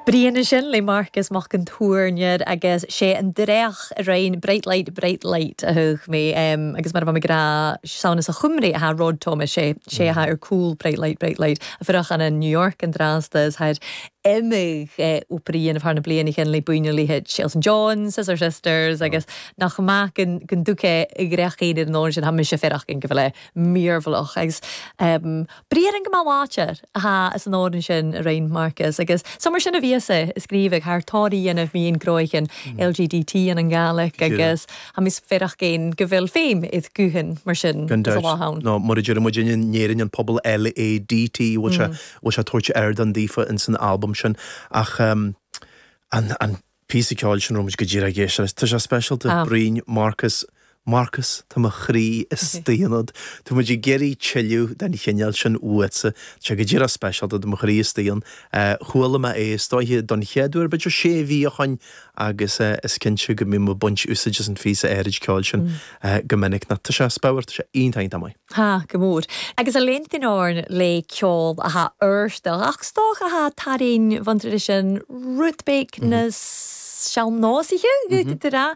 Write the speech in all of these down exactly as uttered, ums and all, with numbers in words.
Brian sin le Marcus Mac an Tuairneir agus sé an dreach a raon Bright Light Bright Light a thug mé um, agus mar bha grá sauna sa chumré a Rod Thomas sé sé ha ar cool Bright Light Bright Light a fuach an in New York an drasta haid imig operíon thar na bliana chen le buine le Elton John Scissor Sisters agus nach amach gon dúche i grechaon ar an sin ha se ferach gin go bhfuil míormhalach agus um, Brian an go máláir ha is an áin sin a raon Marcus agus Summer sin a bhí se scríbh thar táí dhéanamh míon groichan LGDT an an Gàidhlig agus ha mis ferach géin go bhfuil féim iad guthan mar sin lá No mar dúirt muid in Éirinn an pobal LADT bhfuil sé bhfuil sé tabhairt air an daofa in san album sin ach um, an, an píosa ceoil sin romid go dtír géis tá sé speisialta ah. Brian Marcus Marcus tá mo chroí istigh ionat Tá muid ag iarraidh tuilleadh den chineál sin uaitse sé go díreach speisialta do mo chroí istigh ann chuala mé é is dóiche don chéad uair b'fhéidir sé mhí ó shin agus is cinnte go mbím ag baint úsáid as an phíosa áirid ceoil sin go minic na tá sé spewer tá sé iontach maith. Ha go mór. Agus a léontain áin le ceol a ha uirsta ach stoch a ha tarin van sin rutbeek na sean-nósaithe ra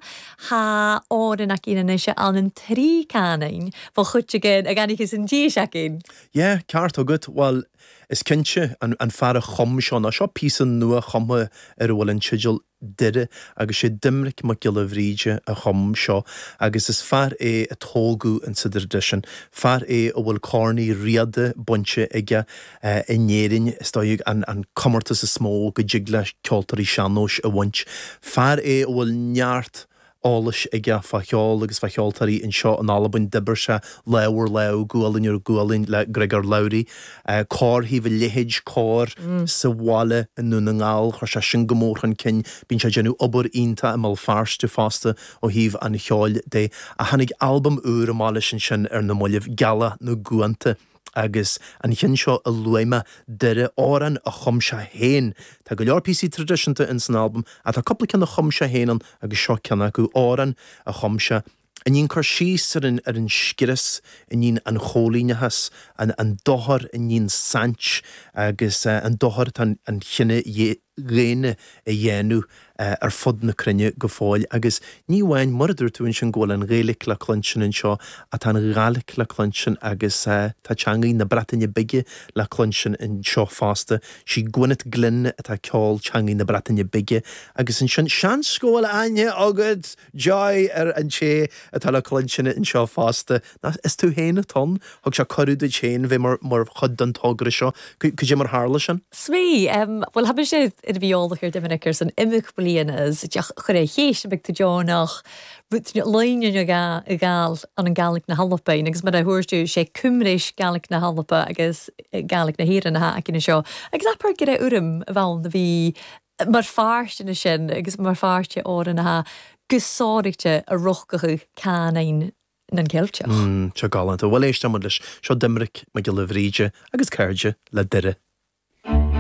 ha áin a cína se an an trí canin fá chut again a ganich an dí seacin. Yeah, ceart agat well is cinnte an, an fear a chum seo ná seo píosa nua chumtha ar a bhfuil an teideal Doire agus sé Doimnic Mac Giolla Bhríde a chum seo agus is fear é a tógadh in sa traidisiún, fear é a bhfuil Corn Uí Riada bainte aige uh, in Éirinn is dóigh an, an comórtas is mó go dtig le ceoltóirí sean-nóis a bhaint. Fear é a bhfuil neart eolais aige fá cheol agus fá cheoltóirí anseo in Albain d'oibir sé lámh ar lámh gualainn ar ghualainn le Griogair Labhruidh, uh, cór thaobh a leithéid cór mm. sa bhaile i nDún na nGall chuir sé sin go mór chun cinn bíonn sé déanamh obair iontach i mBéal Feirste fosta ó thaobh an cheoil de a tháinig albam úr amach leis sin sin ar na mallaibh Gealach na gCuanta. agus an ceann seo a luaigh mé Doire amhrán a chum sé féin. Tá go leor píosaí traidisiúnta in san albam a tá cúpla ceann a chum sé féin an agus seo ceann acu amhrán a chum sé. A dhéanann cur síos ar an ar an scrios a dhéanann an choilíneachas an, an dochar a dhéanann saint agus uh, an dochar an, an chine dhaonna a dhéanamh uh, ar fud na cruinne go fóill agus ní amháin mar a dúirt tú sin go bhfuil an Ghaeilge le cluinstin anseo atá an Ghàidhlig le cluinstin agus uh, tá teangaí na Breataine Bige le cluinstin anseo fosta sí Gwyneth Glyn atá ceol teangaí na Breataine Bige agus ansin seans go bhfuil aithne agat Joy ar an té atá le cluinstin anseo fosta is tú féin atá ann thug sé cuireadh duit féin bheith mar mar chuid den togra seo cad é mar tharla sin? Sví well ha sé i bhíálach ar Doiminic ar san imach blianas teach chur é chéis be tú deonach leine ga i gáil an an Gàidhlig na hAlban agus mar a thuirú sé cumréis Gàidhlig na hAlban agus Gàidhlig na hÉireann ha cin seo. Agus apar go urm a bhil na bhí mar feartna sin agus mar fearte áran na gussáidirte a rochcachu cain nan ceilteach. Mm, Seo galánta, bhfuil éiste leis seo Doimnic Mac Giolla Bhríde agus cairde le Doire.